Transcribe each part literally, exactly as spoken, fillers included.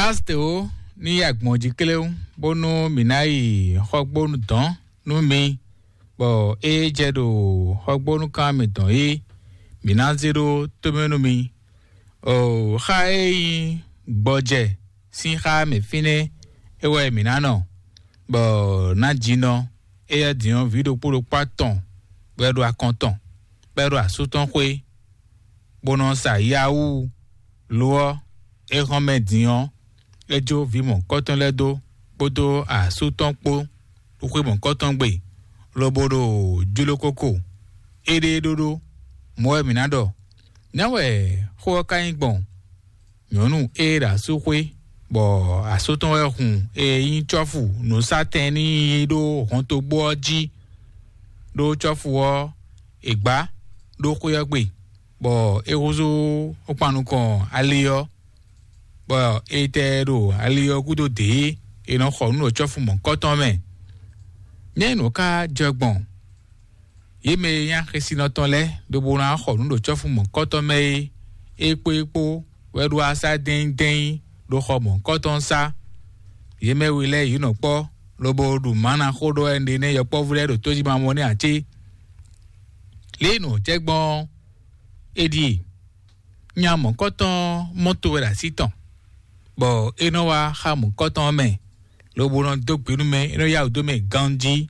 Aste ó, ní yi agbɔ̌n jí kléwún, bónú mǐ ná yi xɔgbónu dɔ̌n nú mi, bɔ é jɛ ɖo xɔgbónúkan mitɔn é, mǐ ná zé ɖó tómɛ nú mi. O, xa e nyí gbɔjɛ sín xá mɛ fínɛ́ é wɛ mǐ ná nɔ, bɔ ná jinɔ éyɛ́ din ɔ́, vǐ ɖokpó ɖokpó atɔn bɔ é ɖo akɔn tɔn, bɔ é ɖo asú tɔn xwé, bó nɔ sa yawú. Lo ɔ́, é hɔn mɛ din ɔ́, é jó vǐ mɔ̌hunkɔtɔn lɛ́ɛ dó, kpódó asú tɔn kpó, ɖo xwé mɔ̌hunkɔtɔn gbe, lobo ɖo jló kóko. Éɖée ɖóɖó, mɔ̌ wɛ mǐ ná ɖɔ. Nɛ̌ wɛ xó ɔ́ ka nyí gbɔn? Nyɔ̌nu e ɖo asú xwé, bɔ asú tɔn wɛ hun e nyí cɔ́fu nǔsátɛn n'i ɖó hɔntogbó ɔ́ jí, ɖó cɔ́fu ɔ́, è gbǎ ɖó xwé ɔ́ gbe, bɔ é húzú kpan nukɔn ali ɔ́, bɔ è tɛ ɖo ali ɔ́ gúdo dě e è nɔ xɔ nǔ ɖo cɔ́fu mɔ̌hunkɔtɔn mɛ. Nɛ̌ nǔ ka jɛ gbɔn? Yě mɛ e nyí axésinɔ tɔn lɛ́ɛ, lobo ná xɔ nǔ ɖo cɔ́fu mɔ̌hunkɔtɔn mɛ é, é kpó é kpó wɛ ɖo asá dɛ́nyí dɛ́nyí ɖo xɔ mɔ̌hunkɔtɔn sá. Yě mɛ we lɛ́ɛ yě nɔ kpɔ́, lobo ɖu mǎ ná xó ɖɔ wɛ ɖe nɛ́ yɔkpɔ́vú lɛ́ɛ ɖo tójímamɔ nɛ́ ǎ cé? Lě e nǔ ɔ́ jɛ gbɔn ɔ́, é ɖíe: nya mɔ̌hunkɔtɔn mɔ́ to wɛ ɖo así tɔn, bɔ é nɔ wá xá mɔ̌hunkɔtɔn ɔ́ mɛ, lobo nɔ dó gbe nú mɛ, é nɔ yá wǔ dó mɛ ganjí.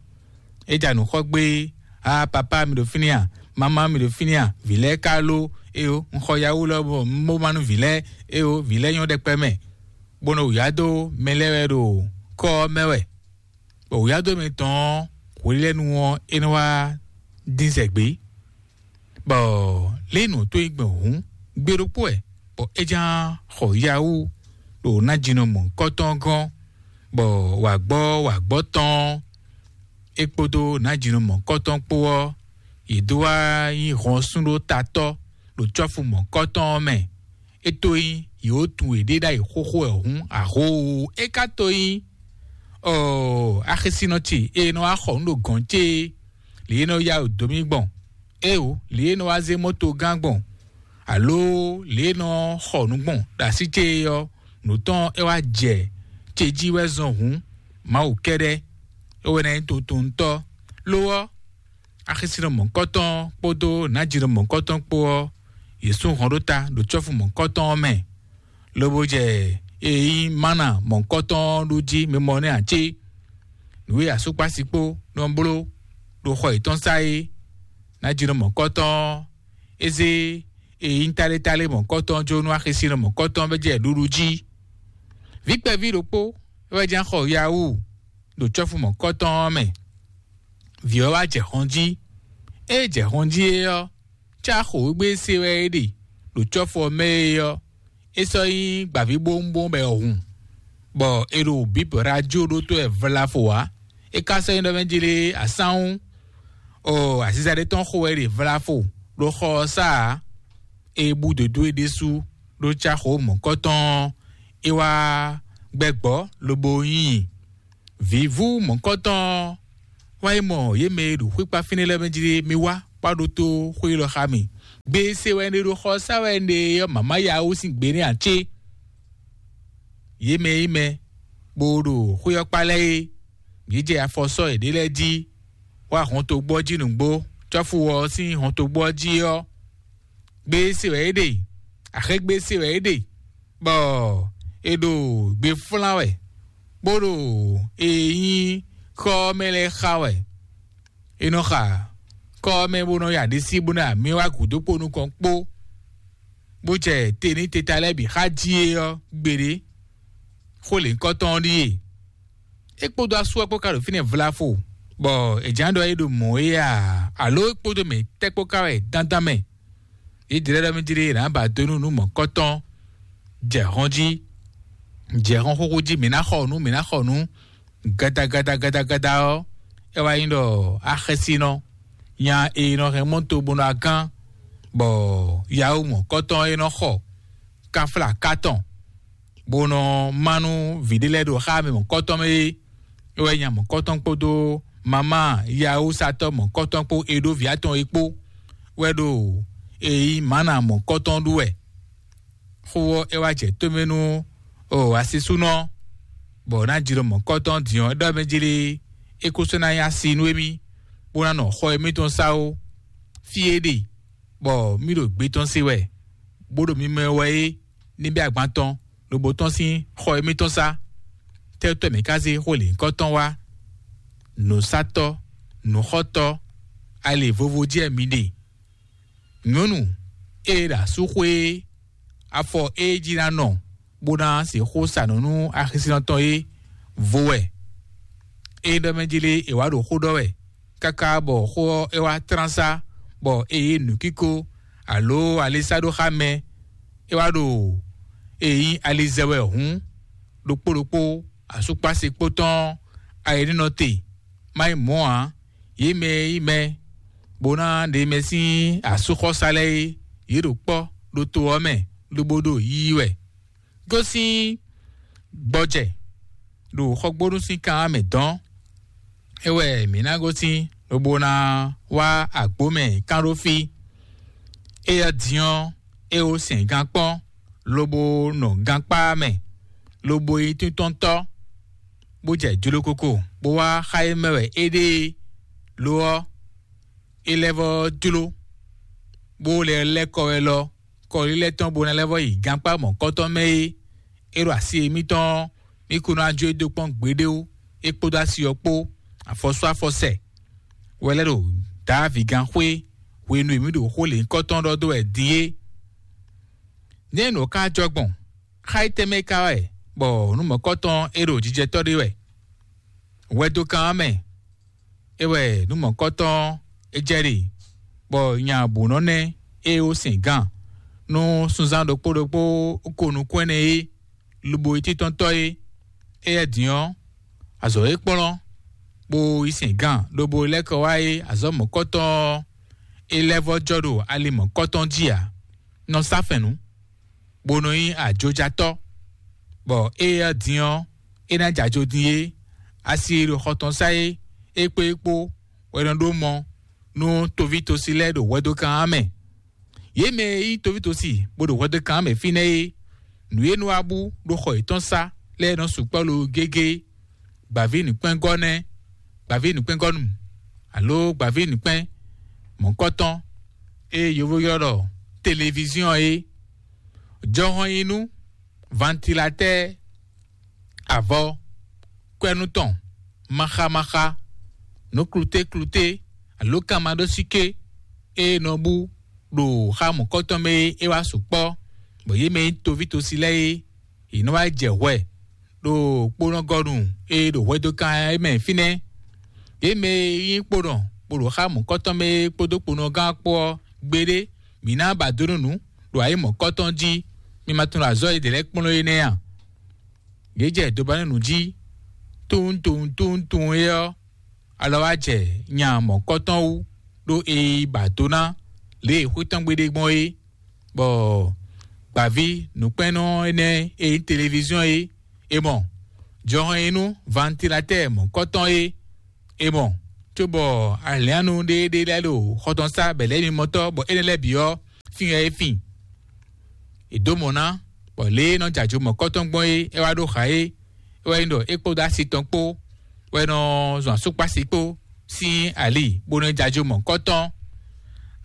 É ja nǔ xɔ gbé: "Aa, papá mi ɖo fínɛ́ a? Mamá mi ɖo fínɛ́ a? Vǐ lɛ́ɛ ka lo? Éyo, un xɔ yawú lɔ bɔ un bó má nú vǐ lɛ́ɛ. Éyo, vǐ lɛ́ɛ nyɔ́ ɖɛkpɛ mɛ, bó nɔ wǔyá dó mɛ lɛ́ɛ wɛ ɖo kɔ́ ɔ́ mɛ wɛ." Bɔ wǔyá dó mɛ tɔn ɔ́, hwelɛ́nu ɔ́, é nɔ wá dín zɛ gbé. Bɔ lě nǔ tó yi gbɔn hǔn, gbe ɖokpó wɛ, bɔ é ján xɔ yawú ɖo nájínɔ mɔ̌hunkɔtɔn gɔ́n, bɔ wǎgbɔ́ wǎgbɔ́ tɔn é kpódó nájínɔ mɔ̌hunkɔtɔn kpó ɔ́, yě dó wá nyí hɔn sú ɖó tatɔ́ ɖo cɔ́fu mɔ̌hunkɔtɔn ɔ́ mɛ. É tó nyí yě wǒ tunwun yěɖée ɖ'ayǐ xóxó wɛ hǔn, ahoo, é ka tó nyí ɔɔ, axésinɔ ce e nɔ wá xɔ nǔ ɖo gɔ̌n ce é, lě e nɔ yá wǔ dó mì gbɔn, éeǒ, lě e nɔ wá zé mɔ́to gán gbɔn, aló lě e nɔ xɔ nǔ gbɔn ɖo así ce é ɔ́, nǔ tɔn é wá jɛ ce jí wɛ zɔn hǔn, Mawu kɛ́ɖɛ́ é wɛ ná nyí totunútɔ́. Lo ɔ́, axésinɔ mɔ̌hunkɔtɔn kpódó nǎjínɔ mɔ̌hunkɔtɔn kpó ɔ́, yě sú hɔn ɖó ta ɖo cɔ́fu mɔ̌hunkɔtɔn ɔ́ mɛ, lobo jɛ e nyí mana mɔ̌hunkɔtɔn ɔ́ ɖu jí mimɔ nɛ́ ǎ cé? Nǔ e asúkpási kpó nɔ bló ɖo xɔ yětɔn sá é, nǎjínɔ mɔ̌hunkɔtɔn ɔ́, é zé e nyí tálétálé mɔ̌hunkɔtɔn jó nú axésinɔ mɔ̌hunkɔtɔn bɔ é jɛ ɖuɖu jí. Vǐ kpɛví ɖokpó é wɛ ján xɔ yawú ɖo cɔ́fu mɔ̌hunkɔtɔn ɔ́ mɛ. Vǐ ɔ́ wá jɛ hɔn jí. Ée jɛ hɔn jí é ɔ́, cá xǒgbé se wɛ é ɖe ɖo cɔ́fu ɔ́ mɛ é ɔ́, é sɔ́ nyí gbǎvíbówúnbówún bɔ è hun, bɔ è ɖo bǐbɔ̌ ɖó ajó ɖótó wɛ vlafo ǎ. É ka sɔ́ nyí ɖɔ mɛ jí lé asánwú, ɔ, aziza ɖé tɔn xo wɛ è ɖe vlafo ɖo xɔ ɔ́ sá ǎ. É bú dǒdó é ɖésú ɖó cá xǒ mɔ̌kɔ́tɔn ɔ́, é wá gbɛgbɔ́ lobo nyi vǐvú mɔ̌kɔ́tɔn ɔ́, wá yi mɔ yě mɛ e ɖo xwíkpá fínɛ́ lɛ́ɛ mɛ jí lé, mi wá, wá ɖótó xwé élɔ́ xá mì. Gbe e se wɛ un ɖe ɖo xɔ ɔ́ sá wɛ un ɖe é ɔ́, mǎmá ya wú sín gbe nɛ́ ǎ cé? Yě mɛ e nyí mɛ, bó ɖo xwé ɔ́ kpá lɛ́ɛ é, yě jɛ afɔ sɔ́ yěɖée lɛ́ɛ jí, wá hɔntogbó ɔ́ jí nǔgbó, cɔ́fu ɔ́ sín hɔntogbó ɔ́ jí ɔ́, gbe e se wɛ é ɖe, axégbé e se wɛ é ɖe, bɔ è ɖo gbe flán wɛ, bó ɖo e nyí xɔ ɔ́ mɛ lɛ́ɛ xa wɛ. È nɔ xa kɔ́ ɔ́ mɛ bó nɔ ya ɖisí bó ná mì wá gǔdo kpó nukɔn kpó, bó jɛ te ní teta lɛ́ɛ bǐ xá jí é ɔ́ gbeɖé. Xó lěhunkɔtɔn ɔ́ ɖíe: é kpódó asú ɔ́ kpó ka ɖo fínɛ́ vlafo, bɔ è jǎ ɖɔ é ɖo mɔ̌ é a? Alo é kpódó mɛ tɛ́ kpó ka wɛ dandan mɛ? Yědɛɛ lɛ́ɛ ɖɔ mì jí ɖé, è nǎ ba dó nú nǔ mɔ̌kɔtɔn, jɛ hɔn jí, jɛ hɔn xóxó jí, mǐ ná xɔ nǔ, mǐ ná xɔ nǔ. Gada gada gada gada ɔ́, é wá nyí ɖɔ axɛ́sínɔ nya e nɔ hɛn mɔ́to bó nɔ agán, bɔ yawó mɔ̌kɔtɔn e nɔ xɔ káflá katɔn, bó nɔ má nú vǐ ɖé lɛ́ɛ ɖo xá mɛ mɔ̌kɔtɔn mɛ é. É wɛ nya mɔ̌kɔtɔn kpódó mamá yawúsatɔ́ mɔ̌kɔtɔn kpó e ɖó vǐ atɔn é kpó wɛ ɖo e nyí mǎna mɔ̌kɔtɔn ɖu wɛ. Xó ɔ́, é wá jɛ tómɛ nú O asisúnɔ, bɔ ná jló mɔ̌kɔtɔn din ɔ́, ɖɔ mɛ jlé é kó sɔ́ ná nyí asi nú émí, bó ná nɔ xɔ émítɔn sá ó. Fí e ɖe, bɔ mí ɖo gbé tɔn se wɛ, bó ɖo mimɛ wɛ é, ní bɛ́ agban tɔn, lobo tɔn sín xɔ émítɔn sá. Tɛ́tɔ́ mǐ ka zé xó lǐnkɔ́tɔn wá? Nǔsátɔ́, nǔxɔ́tɔ́, ali vovo jɛ mi ɖe. Nyɔ̌nu e ɖo asúxwé é, afɔ e jí ná nɔ bó ná sixú sa nǔ nú axisínɔ tɔn é vo wɛ. É ɖɔ mɛ jí lé è wǎ ɖo xó ɖɔ wɛ, káká bɔ xó ɔ́ é wá tlán sá, bɔ é yí nǔkíko alo ali sá ɖó xá mɛ. É wá ɖo e nyí ali zɛ wɛ hǔn, ɖokpó ɖokpó asúkpási kpó tɔn ayǐ ní nɔ te, má nyí mɔ̌ ǎ. Yě mɛ e nyí mɛ bó ná ɖe mɛ sín asúxɔ́sá lɛ́ɛ é, yě ɖo kpɔ́ ɖo to ɔ́ mɛ, lobo ɖo yiyi wɛ. Gosín gbɔjɛ ɖo xɔgbónú sín kan ɔ́ mɛ dɔn. É wɛ mǐ ná gosín, lobo ná wá agbǒ mɛ kán ɖó fí. Éyɛ́ din ɔ́, é wó sɛn gan kpɔ́n, lobo nɔ gankpá mɛ, lobo yi tíntɔ́ntɔ́, bó jɛ jlokoko, bó wá xá e mɛ wɛ é ɖe é. Lo ɔ́, é lɛ́ vɔ́ jló, bó lɛ́ lɛ́ kɔ wɛ lɔ, kɔlílɛ́ tɔn bó ná lɛ́ vɔ́ yi gankpá mɔ̌kɔ́tɔn mɛ é. É ɖo asi émítɔn ɔ́, mí kún ná jó e dó kpɔ́n gbeɖé ó, é kpódó asi ɔ́ kpó, afɔsú afɔsɛ wɛ lɛ́ ɖo Dǎvigán xwé hwenu e mǐ ɖo xó lěhunkɔtɔn ɖɔ dó wɛ din é. Nɛ̌ nǔ ɔ́ ka jɔ gbɔn? Xá yi tɛnmɛ ka wɛ, bɔ nǔ mɔ̌kɔtɔn e ɖo jijɛtɔ́ ɖé wɛ? Hwɛdokán ɔ́ mɛ, é wɛ nǔ mɔ̌kɔtɔn é jɛ ɖe, bɔ nya bǔnɔ́ nɛ́ e ó sɛn gǎn nú sunzán ɖokpó ɖokpó ko nukún ɛnɛ é, lobo yi títɔ́ntɔ́ é. Éyɛ́ din ɔ́, azɔ̌ e kplɔ́n bó yi sɛn gǎn lobo lɛ́ kɔ wá é, azɔ̌ mɔ̌kɔtɔn ɔ́, é lɛ́ vɔ́ jɔ ɖo ali mɔ̌kɔtɔn jí ǎ. Nɔ sá fɛ̌n nú, bó nɔ nyí ajojatɔ́, bɔ éyɛ́ din ɔ́, é ná jɛ ajo din é. Asi e ɖo xɔ tɔn sá é, é kpó é kpó wɛ nɔ ɖó mɔ nú toví tosi lɛ́ɛ ɖo hwɛdokán ɔ́ mɛ. Yě mɛ e nyí toví tosi bó ɖo hwɛdokán ɔ́ mɛ fínɛ́ é, nǔ e nɔ wá bú ɖo xɔ yětɔn sá lɛ́ɛ nɔ sukpɔ́ lo gégé. Gbǎví nǔkpɛ́ngɔ́ nɛ́, gbǎví nǔkpɛ́ngɔ́nu, alo gbǎví nǔkpɛ́n mɔ̌kɔ́tɔn e yovó ylɔ́ ɖɔ televiziɔn é. Jɔhɔn yi nú vantilatɛ́, avɔ, kwɛ́nú tɔn, maxamaxa, nǔ klutékluté, alo kanmaɖósíké e nɔ bú ɖo xá mɔ̌kɔ́tɔn mɛ é, é wá sukpɔ́, bɔ yě mɛ e nyí toví tosi lɛ́ɛ é, yě nɔ wá jɛ hwɛ ɖo kponɔgɔnu e ɖo hwɛdokán é mɛ fínɛ́. Yě mɛ e nyí kponɔ bó ɖo xá mɔ̌kɔ́tɔn mɛ é kpódó kponɔgán kpó ɔ́, gbeɖé mǐ ná ba dó nú nǔ ɖo ayǐ mɔ̌kɔ́tɔn jí. Mi ma tunwun azɔ̌ e ɖě lɛ́ɛ kplɔ́n é nɛ́ a? Yě jɛ dobanúnu jí, tunwun tunwun tunwun tunwun é ɔ́, alɔ wá jɛ nya mɔ̌kɔ́tɔn wú, ɖó è yi ba do ná lě e xwé tɔn gbe ɖe gbɔn é, bɔ gbǎví nǔkpɛ́nnɔ énɛ́ e nyí televiziɔn é, è mɔ jɔhɔn e nú vantilatɛ́ɛ mɔ̌kɔ́tɔn é, è mɔ, cóbɔ alǐannu ɖéeɖée lɛ́ɛ ɖo xɔ tɔn sá bɛ̌lɛ́mimɔtɔ́, bɔ énɛ́ lɛ́ɛ bǐ ɔ́, fín wɛ é fin. È dǒ mɔ̌ ná, bɔ lě e nɔ jɛ ajo mɔ̌kɔ́tɔn gbɔn é, é wá ɖó xa é. É wɛ nyí ɖɔ é kpódó asi tɔn kpó wɛ nɔ zɔn asúkpási kpó sín ali, bó nɔ jɛ ajo mɔ̌kɔ́tɔn.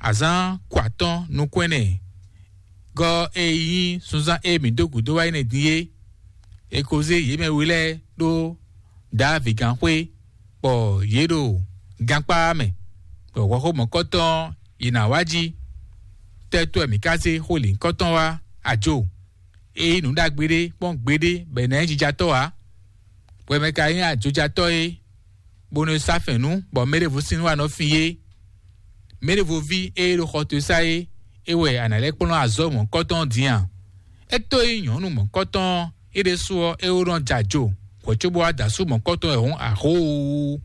Azǎn kɔ atɔ́n nukún ɛnɛ gɔ́ e nyí sunzán e mǐ dó gǔdo wá yi nɛ́ din é, è ko zé yě mɛ we lɛ́ɛ ɖó Dǎvigán xwé, bɔ yě ɖo gankpá mɛ, bɔ hwɛxó mɔ̌kɔ́tɔn ɔ́, yě ná wá jí. Tɛ́tɔ́ wɛ mǐ ka zé xó lǐnkɔ́tɔn wá? Ajo e nyí nǔ ɖagbe ɖé kpɔ́n gbeɖé bɔ è nǎ nyí jijatɔ́ ǎ. Hwɛ mɛ ka nyí ajojatɔ́ é, bónú é sá fɛ̌n nú, bɔ mɛɖěvo sín nú wá nɔ fin é. Mɛɖěvo ví e ɖo xɔ towe sá é, é wɛ a nǎ lɛ́ kplɔ́n azɔ̌ mɔ̌kɔ́tɔn ɔ́ din a? É tó nyí nyɔ̌nu mɔ̌kɔ́tɔn ɔ́, é ɖésú ɔ́, é wó nɔ jɛ ajo hwɛ̌ cóbó wá da asú mɔ̌kɔ́tɔn wɛ hǔn, ahoo!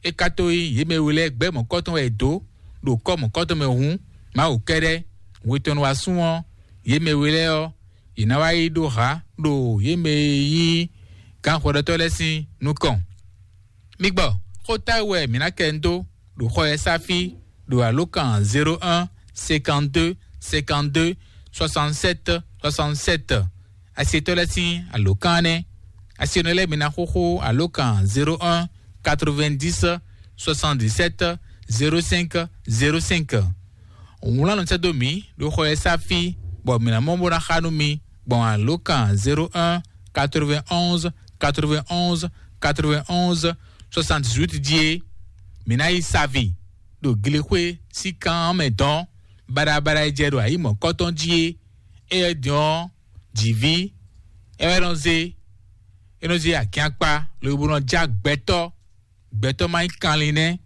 É ka tó nyí yě mɛ we lɛ́ɛ gbɛ́ mɔ̌kɔ́tɔn wɛ è dǒ ɖo kɔ́ mɔ̌kɔ́tɔn mɛ hǔn, Mawu kɛ́ɖɛ́, hwe tɔn nɔ wá sún ɔ́, yě mɛ we lɛ́ɛ ɔ́, yě ná wá yi ɖó hǎ ɖo yě mɛ e nyí gǎnhwɛɖɔtɔ́ lɛ́ɛ sín nukɔn. Mi gbɔ xó táwú wɛ mǐ ná kɛ ń dó ɖo xɔ ɛ sá fí ɖo alǒkan zéro un cinquante-deux cinquante-deux soixante-sept soixante-sept. Asietɔ́ lɛ́ɛ sín alǒkan nɛ́. Asienɔ lɛ́ɛ mi ná xóxó alǒkan zéro un quatre-vingt-dix soixante-dix-sept zéro cinq zéro cinq. Wlán nɔ sɛ́ dó mǐ ɖo xɔ e sá fí, bɔ mǐ ná mɔ bó ná xa nú mi gbɔn alǒkan zéro un quatre-vingt-onze quatre-vingt-onze quatre-vingt-onze soixante-dix-huit jí é. Mǐ ná yi savi ɖo glexwé sín kan ɔ́ mɛ dɔn baɖabaɖa e jɛ ɖo ayǐ mɔ̌kɔtɔn jí é. Éyɛ́ din ɔ́, jǐví é wɛ nɔ zé, é nɔ zé agiankpa lobo nɔ já gbɛtɔ́. Gbɛtɔ́ ma nyí kanlin nɛ́.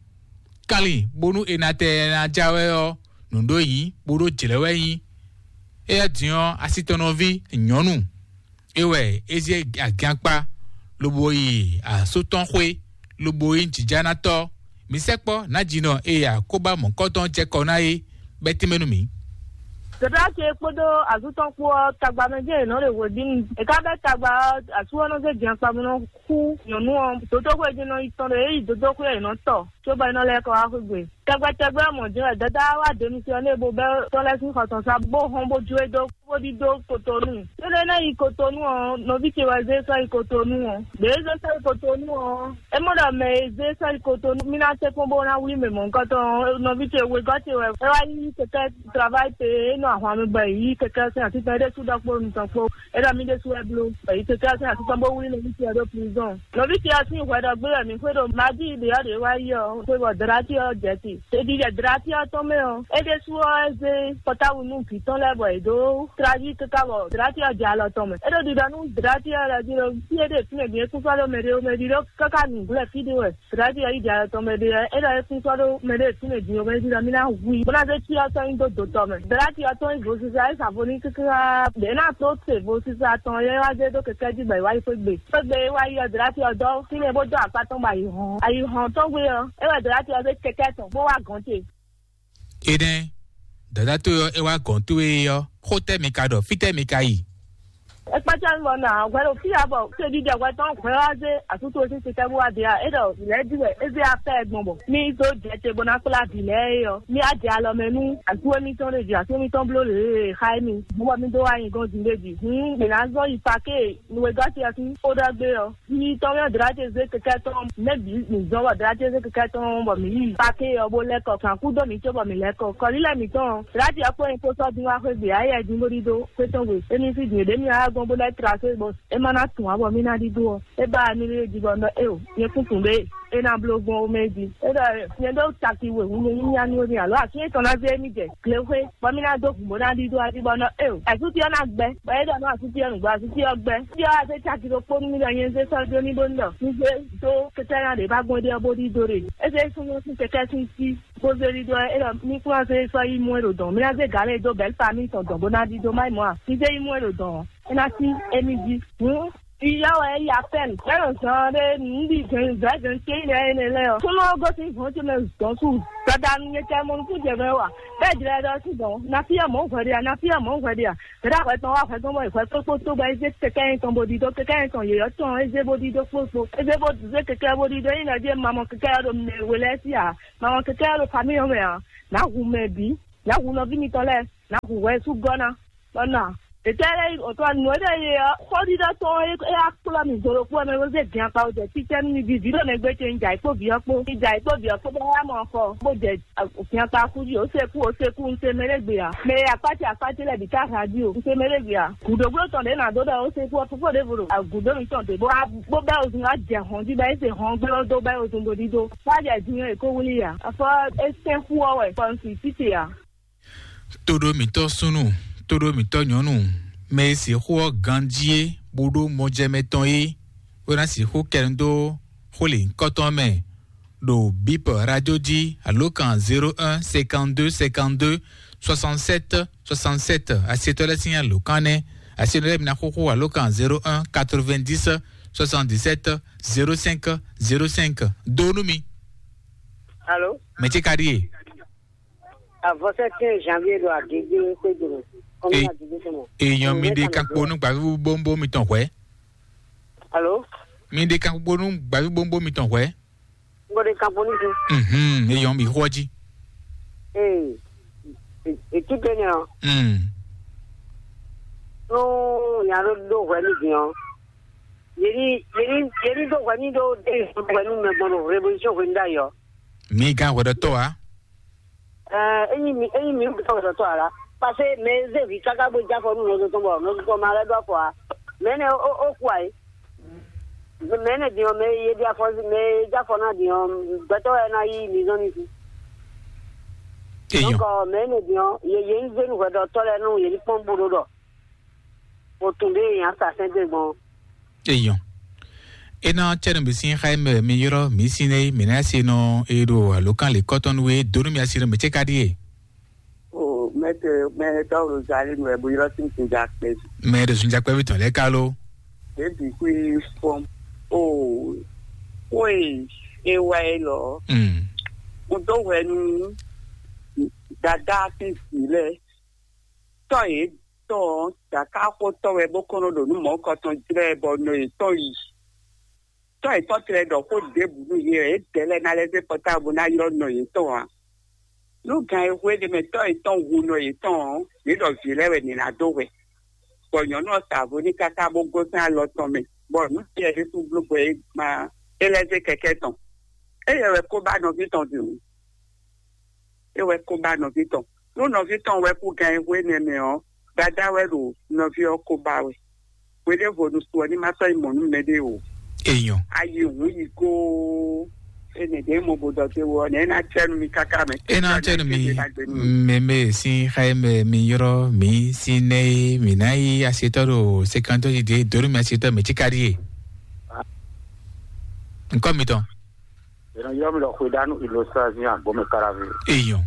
Kanlin bónú è nǎ tɛ ɛ ná já wɛ ɔ́, nǔ ɖó nyǐ bó ɖó jlɛ̌ wɛ nyí. Éyɛ́ din ɔ́, asitɔnɔví nyɔ̌nu é wɛ é zé agiankpa lobo yi asú tɔn xwé, lobo nyí jǐjánátɔ́. Mǐ sɛkpɔ́ nǎjínɔ e akóbá mɔ̌kɔtɔn jɛ kɔ ná é bɛ́ tɛ́nmɛ nú mǐ. Dɔ̌tɔ́ ce kpódó azú tɔn kpó ɔ́, tagba mɛ jɛ́n yě nɔ ɖe hweɖínu. È ka bɛ́ tagba ɔ́, asú ɔ́ nɔ zé jɛnkpa bó nɔ xú nyɔ̌nu ɔ́, dǒdóxwé jí nɔ yi tɔn ɖo é yi dǒdóxwé ɔ́, yě nɔ tɔ, cóbɔ é nɔ lɛ́ kɔ wá xwé gbe. Tɛgbɛ tɛgbɛ ɔ́ mɔ̌ jɛ́n wɛ Dada wá ɖe mi sɔ nú e bó bɛ́ tɔn lɛ́ɛ sín xɔ tɔn sá bó hɔn bó jó e dó bó ɖidó Kotonu. Énɛ́ ná yi Kotonu ɔ́, nɔví ce wɛ zé sɔ́ yi Kotonu ɔ́. Ɖě e zé sɔ́ yi Kotonu ɔ́, é mɔ ɖɔ mɛ e zé sɔ́ yi Kotonu mí ná tɛ́ kpɔ́n bó ná wlí mɛ mɔ̌hunkɔtɔn ɔ́, nɔví ce wegɔ́ ce wɛ é wá yí kɛkɛ́ travail pé é nɔ ahwan mi bɔ è yí kɛkɛ́ sín atitɔn é ɖésú ɖɔ kpó nutɔn kpó. É ɖɔ mí ɖésú wɛ bló bɔ è yí kɛkɛ́ sín atitɔn bó wlí nɔví ce ɔ́ ɖó prison. Nɔví ce ɔ́ sín hwɛ ɖɔ gbé wɛ mǐ xwé ɖo Madi ɖě ɔ́ ɖě wá yi ɔ́, xwé bɔ Dlati ɔ́ jɛ te. Ɖiɖiɖɛ Dlati ɔ́ tɔn mɛ ɔ́, é ɖésú ɔ́, é zé pɔtáwu nú vǐ tɔn lɛ́ɛ bɔ yě dó tlaví káká bɔ Dlati ɔ́ jɛ alɔ tɔn mɛ. É ɖo ɖiɖɔ nú Dlati ɔ́ lɛ́ɛ jí ɖɔ fí e ɖe fínɛ́ din é kún sɔ́ ɖó mɛɖé ó mɛɖé ɖó káká nǔgblɛ́ fí ɖé wɛ. Dlati ɔ́ yi jɛ alɔ tɔn mɛ ɖé ɔ́, é ɖɔ é kún sɔ́ ɖó mɛɖé fínɛ́ din ó mɛɖé ɖɔ mí ná hu i bó ná zé cyɔ tɔn nyi dó dǒ tɔn mɛ. Dlati ɔ́ tɔn nyí vodúsá é sa vo n'i káká ɖě ná tó se vodúsá tɔn é wá zé dó kɛkɛ́ jí bɔ è wá yi xwé gbe. Xwé gbe é wá yi ɔ́, Dlati ɔ́ dɔ́ fínɛ́ bó dó akpá tɔn bɔ ayǐ hɔn. Ayǐ hɔn tɔn gbe ɔ́, é wɛ Dlati ɔ́ zé kɛkɛ́ tɔn bó wá gɔ̌n ce. Énɛ́, dǎdá towe ɔ́, é wá gɔ̌n towe é ɔ́, xó tɛ́ mi ka ɖɔ? Fítɛ́ mi ka yi? É kpácá mi bɔ nɔ hwɛ ɖo fí ǎ bɔ fí e ɖiɖe hwɛ tɔn hwɛ wá zé asútu e sín sitɛ́ bó wá de ǎ. É ɖɔ lɛ̌ jí wɛ é zé afɛ gbɔn bɔ mí dó jɛ te bó ná kplá vǐ lɛ́ɛ é ɔ́, mí á jɛ alɔ mɛ nú asú émítɔn ɖé jí, asú émítɔn bló lě e xa émí bó bɔ mí dó wá nyi gɔ́n din ɖé jí. Hǔn mǐ ná zɔ́n yi paké nú e gɔ́ ce ɔ́ sín xó ɖɔ gbé ɔ́. Yi tɔn mɛ Dlati zé kɛkɛ tɔn mɛ bǐ mǐ zɔn bɔ Dlati zé kɛkɛ tɔn bɔ mǐ yi pake ɔ́ bó lɛ́ kɔ kan kú dó mǐ cóbɔ mǐ lɛ́ kɔ kɔlílɛ mǐtɔn Dlati ɔ́ kpó nyɛ kpó sɔ́ dín wá xwé gbe ayɛ dín bó ɖídó xwé tɔn gbe émí fí din ɖě mì wá gɔ́n bó lɛ́ trasé bɔ é má ná tun ǎ bɔ mí ná ɖídó ɔ́ é ba mi lé jí bɔ nɔ éo nyɛ kún tun ɖé é ná bló gbɔn ó mɛ jí é ɖɔ nyɛ ɖó taki wěwú nyɛ nyí nyánú émí alo asin tɔn ná zé émí jɛ glexwé bɔ mí ná dó hǔn bó ná ɖídó adi bɔ nɔ éo asúti ɔ́ ná gbɛ bɔ é ɖɔ nɔ asúti ɔ́ nǔgbó asúti ɔ́ gbɛ. Tí ɔ́ azé caki ɖokpó nú mí ɖɔ nyɛ zé sɔ́ dó ní bó ní ɖɔ ní zé dó kɛkɛ́ ná ɖě bá gbɔn ɖé ɔ́ bó ɖídó ɖe. É zé súnnu sín kɛkɛ́ sín sí bó zé ɖídó ɔ́ é ɖɔ mí kún wá zé sɔ́ yi mú é ɖo dɔ̌n. Mí ná zé gǎn lɛ́ɛ dó bɛ̌ famí tɔn dɔ̌n bó ná ɖídó má yi mɔ̌ a. Ní zé yi mú é ɖo dɔ̌n ɔ́, é ná sí émí jí. Hǔn Iyá wɛ é yi apɛ́n, é nɔ zɔn ɖé nǔɖi gɛn zɛ̌zɛ̌n céyí lɛ́ɛ énɛ́ lɛ́ɛ ɔ́, súnnu ɔ́ gosín hɔn ce mɛ dɔn su. Dadanu nyɛ kɛ mɔ nukún jɛ mɛ wa. Bɛ́ jlɛ ɖɔ sí dɔn, na fí ɔ́ mɔ̌ hwɛ ɖe a, na fí ɔ́ mɔ̌ hwɛ ɖe a. Bɛ̌ ɖo ahwɛ tɔn wá hwɛ tɔn bɔ hwɛ kpókpó tó bɔ é zé kɛkɛ́ nyɛ tɔn bó ɖidó, kɛkɛ́ nyɛ tɔn yěyɔ́ tɔn é zé bó ɖidó kpókpó. É zé bó zé kɛkɛ́ bó ɖidó, é nyí nɔ ɖíe ma mɔ kɛkɛ́ ɔ́ ɖo mɛ we lɛ́ɛ sí a, ma mɔ kɛkɛ́ ɔ́ ɖo famíyɔ́ mɛ a, nǎ hu mɛ bǐ, nǎ hu nɔví mitɔn lɛ́ɛ, nǎ hu hwɛ sú gɔ́ ná. Bɔ nɔ a? Ètɛ́ lɛ́ɛ yi otɔ́ nǔ e ɖɔ ye ɔ́, xó ɖiɖɔ tɔn e é wá kplɔ́ mì do ɖokpó ɔ́ mɛ bó zé din akpa wó jɛ títɛ́ nú mi bǐ. Vǐ ɖo nɛgbé ce un jɛ ayǐ kpó vǐ ɔ́ kpó. Un jɛ ayǐ kpó vǐ ɔ́ kpó bɔ é wá mɔ xɔ bó jɛ din akpa kú jí. Ó se kú, ó se kú, un se mɛ ɖé gbe ǎ. Mɛ e akpácɛ akpácɛ lɛ́ɛ bǐ ká hǎ jí o. Un se mɛ ɖé gbe ǎ. Gǔdo bló tɔn ɖě nǎ dó ɖɔ ó se kú ɔ́, fofó ɖěvo ɖo gǔdo mǐtɔn ɖě bó wá bó bɛ́ ozun wá jɛ hɔn jí bɔ é se hɔn gbé ɔ́ dó bɛ́ ozun bo ɖídó. Wá jɛ din ɔ́, è ko wlí ǎ. Afɔ é sɛ́n xú ɔ́ wɛ, kɔ un su títì ǎ. Tóɖó mǐtɔn súnnu, tóɖó mǐtɔn nyɔ̌nu, mɛ e sixú ɔ́ ganjí é, bó ɖó mɔjɛmɛ tɔn é, bó ná sixú kɛ nu dó xó lěhunkɔtɔn mɛ ɖo bip radio jí alo kan zéro un cinquante-deux cinquante-deux soixante-sept soixante-sept. Asietɔ́ lɛ́ɛ sín alǒkan nɛ́. Asienɔ lɛ́ɛ mi ná xóxó alo kan zéro un quatre-vingt-dix soixante-dix-sept zéro cinq zéro cinq. Dó nú mi. Alo? Mɛ ce ka ɖíe? Avɔsɛ quinze janvier ɖo Agége xwédo mɛ. Kɔmi Agége tɔn mɛ. Èèyàn mi ɖe kan kpo nú gbàgbé bóńbó mitɔn hwɛ̌. Alo? Mi ɖe kan kpo nú gbàgbé bóńbó mitɔn hwɛ̌. N ko ɖe kan kpo nú ti. Mhm, èèyàn mi xwọ́ jí. Ee, ètí pé nìyàn. Mm. Nú nya ɖó ɖó hwɛ nú din ɔ́, yě ní yě ní yě ní ɖó hwɛ nú ɖó ɖé hwɛ nú mɛ gbɔn ɖo révolution hwenu ɖ'ayǐ ɔ́. Mi gán hwɛɖɔtɔ́ ǎ. Ɛɛ, ényí mi ényí mi ɖo hwɛɖɔtɔ́ ǎ lá, parce que mɛ e zé vǐ káká bó jɛ afɔ nú nɔzo tɔn bɔ nɔzo tɔn ma lɛ́ ɖó afɔ ǎ, mɛ énɛ́ ó ó kú ǎ é. Mɛ énɛ́ din ɔ́, mɛ e yě ɖi afɔ mɛ e jɛ afɔ ná din ɔ́, gbɛtɔ́ wɛ ná yí mi zɔn ní sí. Eyɔn. Donc mɛ énɛ́ din ɔ́, yě yě ní zé nú hwɛɖɔtɔ́ lɛ́ɛ nú yě ní kpɔ́n bó ɖó ɖɔ o tun ɖé nya sa sɛn dé gbɔn. Eyɔn. Ena cɛnu mi sin xa mɛ mi yɔrɔ mi sin ne mi na se nɔ e ɖo alokan le kɔtɔn we donu mi asi nɔ mi ce ka die. O mɛtɛ mɛtɛ o zali nɔ ɛbu yɔrɔ sin sin ja kpɛ. Mɛ ɖo sun jakpɛ bi tɔn lɛ kalo. Ebi kui fɔm. O oye ewa e lɔ. Mm. Mo dó hwɛ nú dada fi si lɛ. Tɔ yě tɔn dakaxotɔ́ wɛ bó kɔn nɔ ɖo nǔ mɔ̌kɔtɔn jlɛ́ bɔ nɔ yětɔn yi. Tɔ́ yětɔn tlɛ ɖɔ xó ɖěbǔ nú yě wɛ, yě dɛ̌ lɛ́ɛ ná lɛ́ zé pɔtábú ná ylɔ́ nɔ yětɔn ǎ. Nú gan e hwe ɖ'é mɛ tɔ́ yětɔn hu nɔ yětɔn ɔ́, yě ɖɔ vǐ lɛ́ɛ wɛ nǐ ná dó hwɛ. Bɔ nyɔ̌nu ɔ́ sa vo n'i káká bó gosín alɔ tɔn mɛ, bɔ nǔ ce ɖésú bló gbɛ é gbán é lɛ́ zé kɛkɛ́ tɔn. Éyɛ́ wɛ kó ba nɔví tɔn din. É wɛ kó ba nɔví tɔn. Nú nɔví tɔn wɛ kú gan e hwe nɛ́ mɛ ɔ́, dadá wɛ ɖo nɔví ɔ́ kó ba wɛ. Hweɖěvo nu su ɔ́ ní ma sɔ́ yi mɔ̌ nú mɛɖé o. Eyɔn. Ayi hǔn yi góó. Énɛ́ ɖě mo bo ɖɔ te wɔ nɛ̌ ná cɛ́ nú mi káká mɛ. Ena cɛnu mi meme sin xaye mɛ mi yɔrɔ mi sin ne mi na yi asetɔ ɖo sekantɔ yi de donu mi asetɔ mi tsi ka ɖie. Nkɔ mi tɔn. Ena yɔrɔ mi lɔ xwe danu ilo sazi agbɔmɛ karavi. Eyɔn.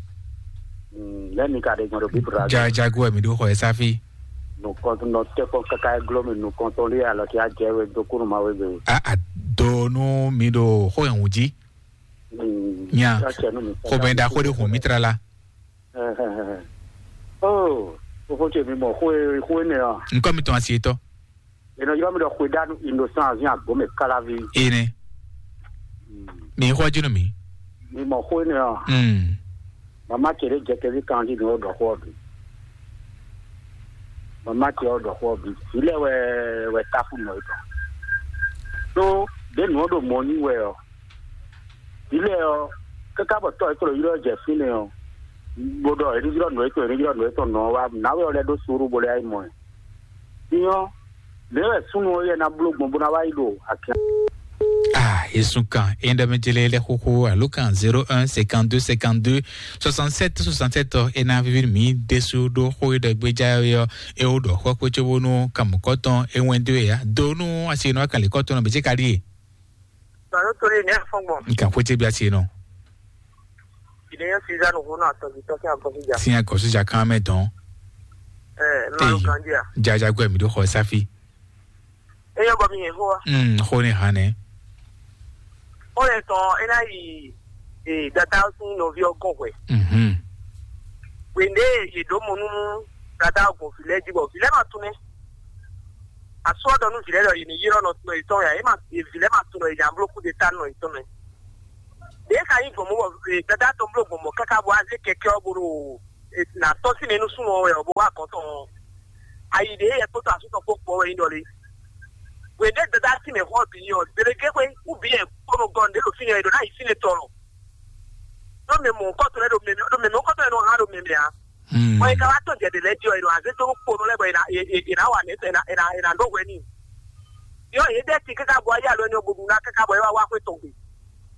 Lɛ mi ka ɖe gbɔn ɖo bibra. Ja jago mi ɖo xɔ ɛsafi. Nukɔntɔn nɔ tɛkɔ kaka eglo mi nukɔntɔn li alɔ ki ajɛ we do kunu ma we be. A a donu mi ɖo xɔ ɛhun ji. Nya xɔmɛ ɖaxó ɖe xɔn mi tra la. Oh, fofo ce mi mɔ xó e xó e nɛ ɔ. Nkɔ mi tɔn asi etɔ. Enɔ yɔ mi ɖɔ xwe danu innocent avi agbo mɛ kalavi. Ene. Mi xɔ jinu mi. Mi mɔ xó e nɛ ɔ. Mm. Mama ce ɖe jɛ kɛvi kanji nɔ ɖɔ xɔ bi. Mama ce ɔ ɖɔ xɔ bi. Ilé wɛ wɛ tafu nɔ etɔ. Tó ɖe nɔ ɖo mɔ ní wɛ ɔ. Ilé ɔ kaka bɔ tɔ etɔ ylɔ jɛ fínɛ ɔ. Bó ɖɔ eɖi ylɔ nɔ etɔ eɖi ylɔ nɔ etɔ nɔ wa nawɛ ɔ lɛ ɖó suru bó lɛ ayi mɔ ɛ. Nyɔ, ɖe wɛ súnnu ɔ́ yɛ ná bló gbɔn bó ná wá yi ɖo akia. Ah, yesu kan e ɖɔ mi jele lɛ xoxo alo kan zéro un cinquante-deux cinquante-deux soixante-sept soixante-sept ɔ e ná vivi mi desu ɖo xó e ɖɔ gbéjá ɔ́ é wo ɖɔ xɔ kpé cóbónú kan mɔ̌kɔtɔn é wɛn dó ya dó nú asi nɔ kan lǐkɔtɔn nɔ bɛ cé ka ɖíe. Gbàdúrà tó lè ní àfọ̀ngbọ̀n. Nǹkan kó tẹ́ bí a ṣe nù. Ìdíyẹ Caesar nù fún àtọ̀jù tọ́kí àkọsíjà. Sin akɔsíjà kan mɛ dɔn. Ẹ máa ń kan díà. Jaja gbẹ mi ɖó xɔ sáfì. Eyɔ bɔ mi yẹn fún wa. Mm, xó ní hàn ní. Ó lè tán ẹ náà yìí dada sín nɔví ọgọ́n hwɛ. Mhm. Wèndé yèdó mo nú dada ọgọ́n fìlẹ́ jí bọ̀ fìlẹ́ máa tún mẹ́. Asɔ́dɔ nú vǐ lɛ́ɛ ɖɔ yě ní ylɔ́ nɔ tɔn yětɔn ya, é ma vǐ lɛ́ɛ ma tunɔ yě nya bló kúdeta nɔ yětɔn mɛ. Ɖě ka nyí gbɔn mɔ bɔ dada tɔn bló gbɔn mɔ káká bɔ azé kɛkɛ ɔ́ bó ɖo nà tɔ́ sí mɛ nú súnnu ɔ́ wɛ ɔ́ bó wá gɔ̌n tɔn ɔ́. Ayi ɖě yɛ kpótó asú tɔn kpó kpɔ́ wɛ nyí ɖɔ lé. Hwě ɖé dada sí mɛ xɔ bǐ nyí ɔ́, gběɖéké xwé kú bǐ yɛ kpónɔ gɔn ɖě ɖo fínɛ́ ɖo ná yi fínɛ́ tɔn lɔ. Ɖó mɛ mɔ̌hunkɔtɔn lɛ́ɛ ɖo mɛmɛ ɖó mɛ mɔ̌hunkɔtɔn lɛ́ɛ nɔ hán ɖo mɛmɛ ǎ. Bɔ è ka wá tɔ́n jɛ ɖě lɛ́ɛ jí ɔ́, è nɔ azé dó nú kponɔ lɛ́ɛ bɔ è nǎ è- è- è nǎ wa nɛ̌ tɔn è nǎ è nǎ è nǎ ɖó hwɛ n'i. Yɔ yě ɖɛ́ ti káká bɔ ayé alo ɛni ɔ́ bó ɖu ná káká bɔ é wá wá xwé tɔn gbe.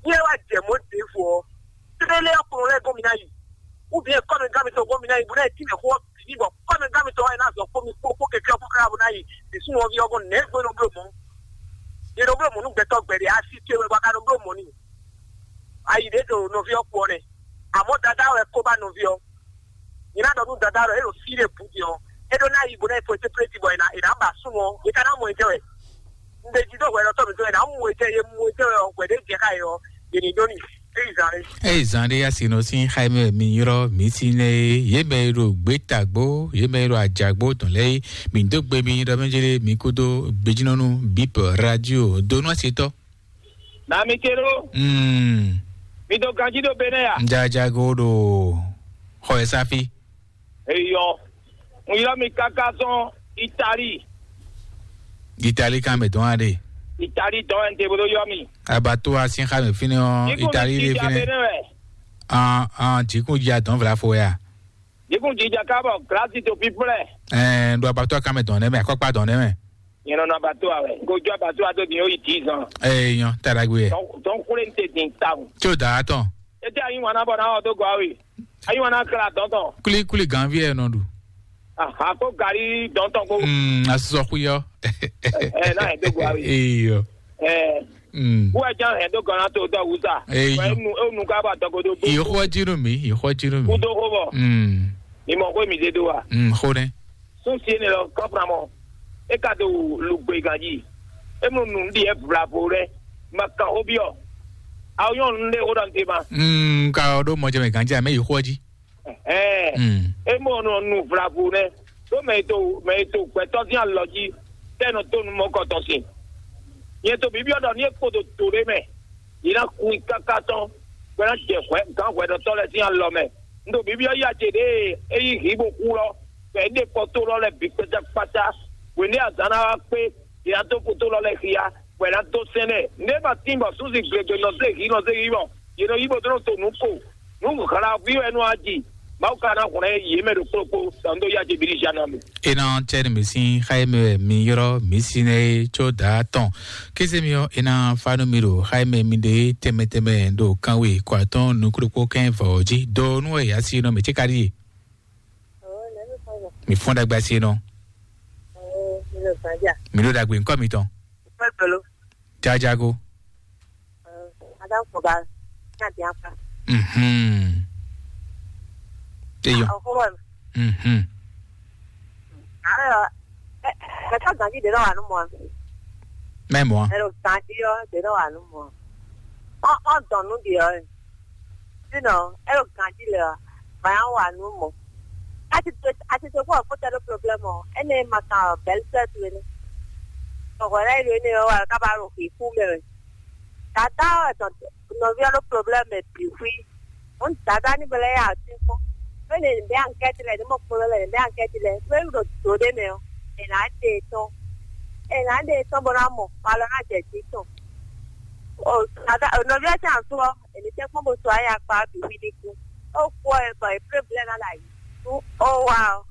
Ní é wá jɛ mɔ̌ ɖěvo ɔ́, tlélé ɔ́ kponɔ lɛ́ɛ gɔ́n mi ná yi. Ou bien kɔ́mɛ gán mi tɔn gɔ́n mi ná yi bó ná yi tínmɛ xó ɔ́ bǐ bɔ kɔ́mɛ gán mi tɔn wá yi ná zɔ kpó mi kpó kpó kɛkɛ ɔ́ kpó káká bó ná yi. Ìsúnwɔ́ví ɔ́ gɔ́n nɛ̌ gbé nɔ bló mɔ̌. Yě nɔ bló mɔ̌ nú gbɛtɔ́ gbɛɖe asi ce wɛ bɔ a ka nɔ bló mɔ̌ n'i. Ayi ɖě ɖo nɔví ɔ́ kpó ɔ́ nɛ́. Àmọ́ dadá wɛ kó bá nɔví ɔ́. Nyɛ ná ɖɔ nú dadá ɖɔ é ɖo fí ɖé bǔ din ɔ́, é ɖó ná yi bó ná yi fɔ séplé jí bɔ è nǎ è nǎ ba súnnu ɔ́, è ka ná mɔ etɛ́ wɛ. Un ɖe jí ɖó hwɛ ɖɔtɔ́ mǐtɔn è nǎ mɔ etɛ́, è mɔ etɛ́ wɛ ɔ́, hwɛ ɖé jɛ xá yě ɔ́, è nǐ ɖó n'i. É yi zán é. Eye zan ɖé ya si nɔ sín xayimɛ mi yrɔ mi si nɛ ye ye mɛ ɖo gbetagbo ye mɛ ɖo ajagbo tɔn lɛ ye mi do gbe mi ɖɔ mɛ jele mi kudo gbejinɔnu bip radio donu asetɔ. Na mi ke ɖo. Mm. Mi do ganji ɖo be nɛ ya. Njajago ɖo xɔ ye safi. Eyɔ. N yrɔ mi kaka sɔn. Itali. Itali kan mɛ dɔn aɖe. Itali dɔn ɛn te bolo yɔ mi. Abato asin xa mɛ fínɛ ɔ. Itali de fínɛ. Bene wɛ. An an jikun ji adɔn vla fo ya. Jikun ji ja ka bɔ glasi to píplɛ. Ɛɛ ɖo abato kan mɛ dɔn nɛ mɛ akɔkpa dɔn nɛ mɛ. Nyɛ nɔ nɔ abato awɛ. Ko jo abato ato din o yi dix ans. Ɛɛ nyɔ tadagbe yɛ. Dɔn kule n te din tawun. Tso da atɔn. Ete ayi wana bɔ na ɔ do gɔ awe. Ayi wana kla dɔn tɔn. Kuli kuli ganvi yɛ nɔ ɖu. Aha ko gari dɔn tɔn ko. Mm, asosɔ xuyɔ. Ɛ na yɛ do gɔ awe. Eyɔ. Ɛ. Mm. Who ɛ jan hɛn dó gɔnna to dɔ wusa. Eye. Wɛ nu e nu ka ba dɔgodo bo. Yi xɔ ji nu mi, yi xɔ ji nu mi. Kudo xo bɔ. Mm. Mi mɔ xo mi de do wa. Mm, xo ne. Sun sie ne lɔ kɔpra mɔ. E ka do lugbe ganji. E mu nu ndi e bravo lɛ. Ma kan o biɔ. Aw yɔn nu de o dɔn te ma. Mm, ka o do mɔ jɛ mɛ ganji a mɛ yi xɔ ji. Ɛɛ. Mm. E mɔ nɔ nu vlavo nɛ. Ɖó mɛ e to mɛ e to gbɛtɔ́ sín alɔ jí tɛ nɔ tó nu mɔkɔtɔn sin. Nyɛ to bíbí ɔ́ ɖɔ ní e kpo ɖo to ɖé mɛ, yě ná kun i káká tɔn, bɔ é ná jɛ hwɛ gǎn hwɛɖɔtɔ́ lɛ́ɛ sín alɔ mɛ. Un ɖo bíbí ɔ́ yí acě ɖě e é yí hǐ bó xú lɔ, bɔ é ɖe kɔ tó lɔ lɛ́ɛ bǐ kpátákpátá. Hwěɖé azǎn ná wá kpé, yě ná dó kpo tó lɔ lɛ́ɛ xia, bɔ é ná dó sɛ́n lɛ́ɛ. Nǔ e ma tín bɔ súnsi glegbe nɔ zé hǐ nɔ zé hǐ mɔ, yě nɔ yí bó dó nɔ to nǔ ko. Nǔ hla ví wɛ nɔ aji. Mawu ka ná hwlɛ́n yě mɛ ɖo kplɔ́kpó, sɔ un ɖó yá Jebíli Jana mi. E nɔ tɛ ni mi sín xa e mɛ wɛ mi ylɔ́ mi si nɛ é có dǎ tɔn. Kéze mi ɔ́, e ná fa nú mi ɖo xa e mɛ mi ɖe tɛmɛ tɛmɛ ɖo kanwe kɔ atɔn nukúɖokpó kɛn vɔ ɔ́ jí. Do nú wɛ yǎ si nɔ mɛ cé ka ɖíe? Mi fɔ́n ɖagbe asi nɔ. Mi ɖo ɖagbe ŋkɔ mitɔn. Jajago. Ada ko ba na dia pa. Mhm. Eyo. Aho wa. Mhm. Ayo. Kaka ganji de no anu mo. Mɛ mɔ. Ero ganji yo de no anu mo. O o dɔnu di yo. Sino ero ganji le. Ba ya wa nu mo. Ati to ati to ko ko tɛ do problème o. Ene ma ka belle sœur tu ne. Ko ko re yo ne o wa ka ba ro ki ku me. Dada ɔ́ etɔn nɔví ɔ́ ɖó problème bǐ xwí. Hǔn dada ní bɔ lɛ́ yá atín kpɔ́n. Bó lè bɛ́ ankɛ́ti lɛ, ní mɔ kpo lɛ lɛ bɛ́ ankɛ́ti lɛ. Bó é ɖo dǒ ɖé mɛ ɔ́, è nǎ ɖe tɔn. È nǎ ɖe tɔn bó ná mɔ, bɔ alɔ ná jɛ jí tɔn. O dada nɔví ɔ́ sín asú ɔ́, è ní tɛ́ kpɔ́n bó sɔ ayé akpa ɔ́ bǐ xwí ní kú. Ó kú ɔ́, bɔ è plé blɛ́ ná ɖo ayǐ. Nú ó wá ɔ́,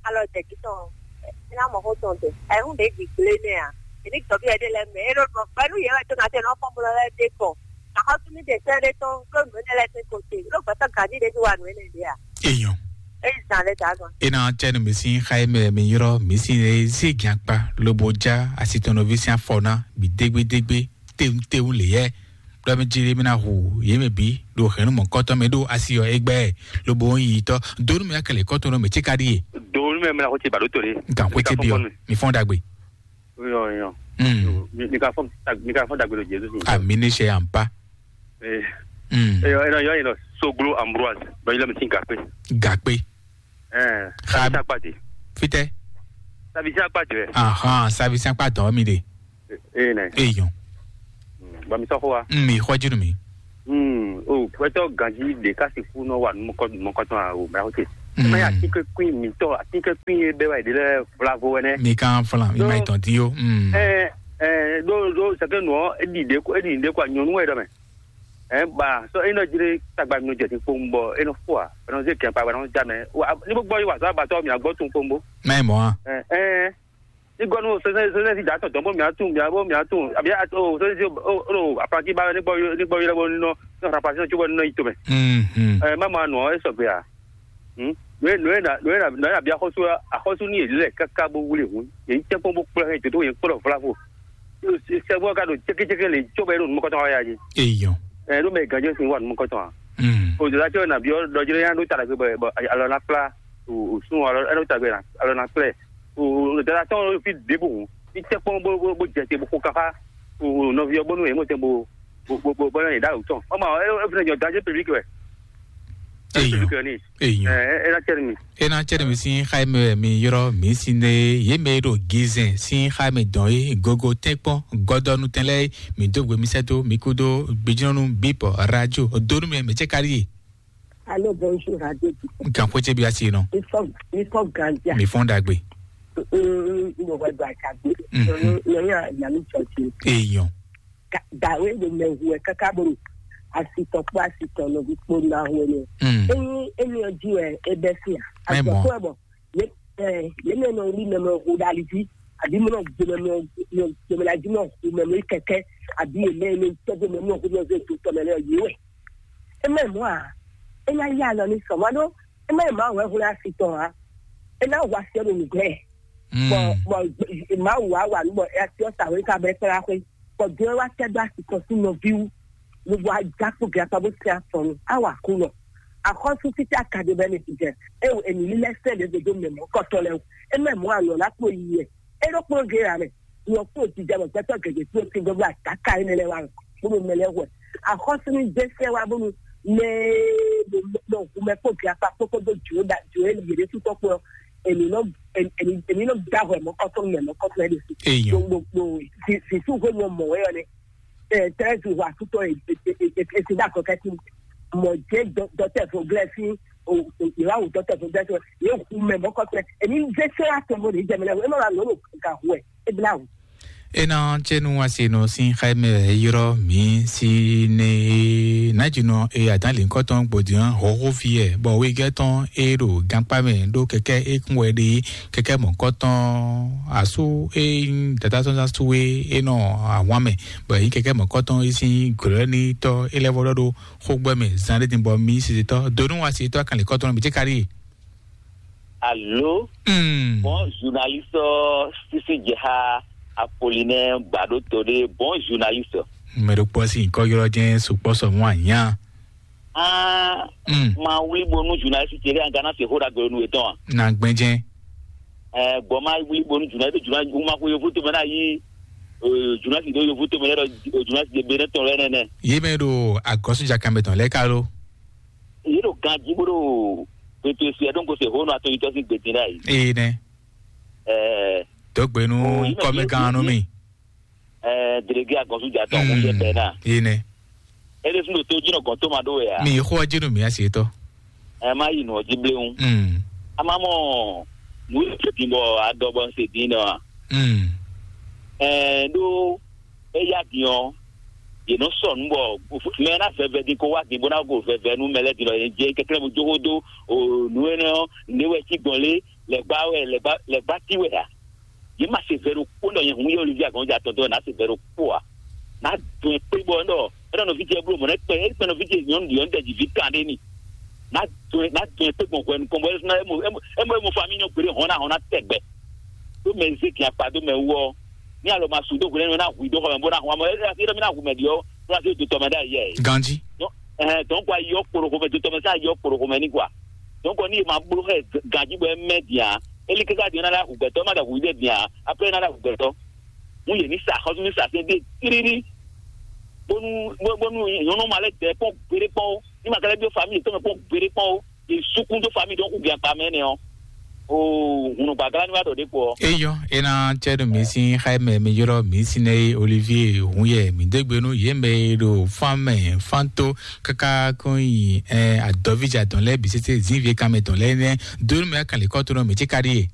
alɔ jɛ jí tɔn ɔ́, é ná mɔ xó tɔn dɛ. Ayǐhún ɖě gbǐgblé nɛ́ ǎ. È ní dɔ̌ví ɛɖé lɛ́ɛ mɛ. É ɖó ɖɔ gbɛnú yě wɛ tó ná tɛ nɔ fɔ́n bó lɛ́ dé kɔ. Axɔ́sú ní ɖe sɛ́ ɖé tɔn ɖó nǔ énɛ́ lɛ́ɛ sín ko ce. Ɖó gbɛtɔ́ gǎní ɖé bí wa nǔ énɛ́ ɖě a? Eyɔn. É yi zan lɛ́ɛ dǎ gan. E na tsɛ nu mi sin xa e mɛ mi ylɔ mi sin e zi gɛn akpa lobo ja asitɔnɔvi sin afɔ na bi dégbédégbé tewun tewun le yɛ. Ɖɔ mi ji mi na hu ye mɛ bi ɖo hɛn nu mɔkɔtɔ mɛ ɖo asi yɔ egbɛ lobo yi tɔ donu mi akɛlɛ kɔtɔ nɔ mɛ tse ka ɖi ye. Donu mɛ mɛ na ko tse ba ɖo to ɖe. Nkan ko tse bi ɔ mi fɔn dagbe. Yɔ yɔ. Mm. Mi ka fɔ mi ka fɔ dagbe ɖo Jesu sin. Ami ne sɛ ampa. Ee. Mm. Eyɔ eyɔ eyɔ soglo Ambroise bɛ yɛlɛ mi sin gakpe. Gakpe. Ɛɛ. Xa- Sabisa kpati. Fitɛ. Sabisa kpati rɛ. Ahan, sabisa kpatɔ mi de. Ee nɛ. Eyɔn. Ba mi sɔxɔ wa. Mm, mi xɔ jinu mi. Mm, o pɛtɔ ganji de ka si fu nɔ wa numɔkɔ numɔkɔtɔn a o mɛ o te. Mm. Mɛ atikɛ kuin mi tɔ atikɛ kuin ye bɛ wa de lɛ flavo wɛnɛ. Mi kan flan, mi ma itɔn ti yo. Mm. Ɛɛ ɛɛ do do sɛkɛ nɔ edi de ko edi de ko nyɔnu wɛ dɔ mɛ. Ɛɛ ba sɔ e nɔ jre tagba mi nɔ jɛ ti kpowun bɔ e nɔ fo a e nɔ ze kɛn pa ba nɔ ja mɛ. Ni bó gbɔ yi wa sɔ abatɔ mi agbɔ tun kpowun bo. Mɛ mɔ a. Ɛɛ ɛɛ. Ní gɔnu sɛsɛ sɛsɛ si dǎ tɔn dɔn bó mǐa tún mǐa bó mǐa tún àbí o sɛsɛ si o o apanti ba ní gbɔ ní gbɔ yɔrɔ bó nínɔ ní ɔ̀rọ̀ apanti náà tún bɔ nínɔ yìí tó mɛ. Mhm. Ɛ má ma nù ọ́ ɛ sɔgbe à. Nùyɛ nùyɛ nà nùyɛ nà nùyɛ nà bí axɔsú axɔsú ní yèlí lɛ káká bó wúlé hùn yèyí tẹ́ kpɔn bó kplɔ hɛn jòtó yẹn kplɔ vlavo. Sɛgbɔ ka ɖo cékécéké lè tso bɛ ɖo numɔkɔtɔ wa ya dzi. Eyɔn. Ɛ ɖo mɛ gànjɔ sin wa numɔkɔtɔ wa. Mm. O jòlá tɛ nà bí ɔ dɔjɔ yẹn ɖo ta la gbé bɔ alɔ na kpla o sun alɔ ɛnɛ ta gbé alɔ na kplɛ. O dada tɔn fi ɖěbǔ hùn ní tɛ kpɔn bó bó bó jɛ te bó xo kafa o nɔvi ɔ bónú yɛ mɔ tɛ bó bó bó bó bó yɛ dá o tɔn ɔmɔ ɛ ɛ fúnɛ jɔ danger public wɛ. Danger Eyɔn. Public wɛ ni. Eyɔn. Ɛ ɛ ɛ na tɛ mi. E na cɛ ɖe mi sin xa e mɛ mi yrɔ mi si ne ye mɛ ɖo gizɛn sin xa e mɛ dɔn ye gogo tɛnkpɔn gɔdɔnu tɛn lɛ mi do gbe mi sɛ do mi kudo gbejinɔnu bipɔ radio donu mɛ mɛ cɛ kari ye. Allô, bonjour, Radio Duc. Nkan xwé ce bi asi nɔ. Mi fɔ, mi fɔ ganja. Mi fɔn dagbe. N bɔ hwɛ do aca gbé. Nyɔnu nyɔnu nya mi tsɔ ti. Èèyàn. Dàwé ɖo mɛ hu ɛ káká bó asi tɔn kpó asi tɔn nɔví kpó ná hu ɛ. Enyi enyi ɔjí wɛ e bɛ fi a. Azɔ kó ɛ bɔ. Yé mɛ nɔ wuli mɛ mɔ hu ɖali jí, àbí mɔ nɔ gbé mɛ mɔ gbé mɛ la jí mɔ hu mɛ mɔ kɛkɛ, àbí yé mɛ nɔ tɔgbé mɛ mɔ hu mɛ zé do tɔmɛ lɛ yé wɛ. E mɛ mɔ a? E nya yá lɔ ní sɔmɔ ɖó. E mɛ ma wɛ hu asi tɔn a? E ná hu asi ɔ́ ɖo nǔgbɛ. Bɔ bɔ ma wu awa nú bɔ asi ɔ́ sa wé ká bɛ kpla xwé. Bɔ dɔn wá tɛ dó asi tɔn sí nɔví wú. Gbogbo ajakpo gɛ akpa bó tɛ afɔ nu awa kú nɔ. Axɔ́sú títí akadé bɛ ní ti jɛ. E wo èmi lílɛ sɛ ɖe dodo mɛ mɔ kɔtɔ lɛ o. E mɛ mɔ anɔ la kpo yi yɛ. E ɖo kplɔn gé ya mɛ. Nyɔ kpo ti jɛ bɔ gbɛtɔ gɛgɛ kpo ti gbogbo ataka yi mɛ lɛ wa. Bó mɛ lɛ wɛ. Axɔ́sú ní dé sɛ wa bónú mɛ nɔ hu mɛ kpo gɛ akpa kpókpó dó jo da jo e yě ɖe tutɔ kplɔ. Èmi nɔ èmi nɔ da hwɛ mɔ kɔtɔ mɛ mɔ kɔtɔ yɛ ɖe si. Eyɔn. Gbogbo si si su hwe mɔ mɔ wɛ yɔ ne. Treize wa tutɔ esi da kɔkɛ ti mɔ jɛ dɔtɛ fo glɛ si. Ìwà wò dɔtɛ fo glɛ si yɛ hu mɛ mɔ kɔtɔ èmi dé sɛ wa tɔ mo ní jẹ mi lɛ wɛ e ma wa nɔ ga hu ɛ e bla wò. Ena tsenu asi nɔ sin xaimɛ yrɔ mi si ne najinɔ e adan linkɔtɔn gbodian hɔhɔ fi ɛ bɔ wegɛ tɔn e ɖo gankpa mɛ ɖo kɛkɛ e kún wɛ ɖe kɛkɛ mɔkɔtɔn asu e dada tɔn asu e e nɔ awan mɛ bɔ yi kɛkɛ mɔkɔtɔn e sin glɔɛ ni tɔ e lɛ vɔ ɖɔ ɖo xogbɛ mɛ zan ɖe din bɔ mi sisitɔ donu asi tɔ akan linkɔtɔn mi tse kari. Allô? Hmm. Bon journaliste, Sisi Jeha Apollinaire Badoto de bon journaliste. Mɛ ɖo kpɔ si nkɔ yɔrɔ jɛ sukpɔ sɔ mɔ anya. Ah, Hmm. Ma wuli bonu journaliste tele an gana se hoda gbe nu etɔn. Na gbɛnjɛ. Eh, bon ma wuli bonu journaliste journaliste ma ko yovu to mena yi. Eh, journaliste do yovu to mena do journaliste de bene tɔn lɛ nɛnɛ. Ye mɛ ɖo agɔsu jakamɛ tɔn lɛ kalo. Yě ɖo ganjí bó ɖo pepesi ɛ ɖó ŋko se hónú atɔnyitɔ́ sín gbedin ɖ'ayǐ. Ee nɛ. Ɛɛ, dɔgbenu o, yí mɛ kɔmɛ yí gan nú yí mi. Ɛɛ, delege agɔnzújà tɔn kún yɛ bɛɛ náà. Ee nɛ. Ele fún ɖo tó jí nɔ gɔn tó ma ɖó wɛ a. Mi xó ɔjí nú mi asi tɔ. Ɛ má yi nù ɔjí bléwún. Mm. A má mɔ nù yìí tó dín bɔ adɔ bɔ ń se dín nɔ a. Mm. Ɛɛ ɖó eya din ɔ, yě nɔ sɔ nǔ bɔ mɛ ná vɛvɛ din kó wá din bó ná go vɛvɛ nú mɛ lɛ́ɛ din lɔ yě jɛ kɛkɛ́ bó jó xó dó o nǔ énɛ́ ɔ́, nǔ é wɛ cí gbɔn lé, lɛ̌gbá wɛ lɛ̌gbá lɛ̌gbá tí wɛ ǎ. Yě ma se vɛ ɖokpó nɔ nyɛ hun yɛ Olivia gɔn ja tɔn dɔn ná se vɛ ɖokpó ǎ. Ná dɔn ɛ kpé bɔ ɛnɔ ɛnɔ nɔví jɛ bló mɔ nɛ kpɛ ɛnɔ nɔví jɛ nyɔnu ɖi ɔn dɛ dzi vi kan ɖé ni. Ná dɔn ɛ ná dɔn ɛ kpé gbɔn hwɛ nukɔn bɔ ɛnɔ ɛmɔ ɛmɔ ɛmɔ fa mi nyɔ gbére hɔn ná hɔn ná tɛ gbɛ. Ɖó mɛ zé gin akpa dó mɛ wú ɔ́, ní alɔ ma su dó hwlɛ́nú ná hu i dó xɔ mɛ bó ná hu amɔ é é mi ná hu mɛ ɖi ɔ́ bó ná zé do tɔmɛ ɖ'ayǐ yɛ. Ganji. Ɛhɛn, donc ayi ɔ́ kpo ɖo xomɛ do tɔmɛ sá ayi ɔ́ kpo ɖo xomɛ ní kwa. Donc ní e ma bló xɛ ganji bɔ é mɛ din a, é lí káká din ɔ́ ná lɛ́ hu gbɛtɔ́, é má ɖɔ hu i ɖé din a, après é ná lɛ́ hu gbɛtɔ́. Mú yě ní sa xɔ́sú ní sa sɛn dé tírírí. Bónú bónú nyɔ̌nu ma lɛ́ dɛ kpɔ́n gbeɖé kpɔ́n ó, ní ma ka lɛ́ byɔ́ famille yětɔn mɛ kpɔ́n gbeɖé kpɔ́n ó, yě sukún dó famille dɔn xú gbɛn akpa mɛ nɛ ɔ́. Oo, hunu gbàgbá ni wá ɖɔ ɖě kpó ɔ́. Eyɔ ena tsɛ ɖo mi sín xaimɛ mi ylɔ mi sinɛ ye Olivier hun yɛ mi dégbe nú yě mɛ e ɖo fan mɛ fan tó káká kó nyi ɛ adɔvíjà tɔn lɛ bǐ sese zínvie kanmɛ tɔn lɛ nɛ dó nú mɛ kan lè kɔ tó nɔ mi tsi ka ɖi ye.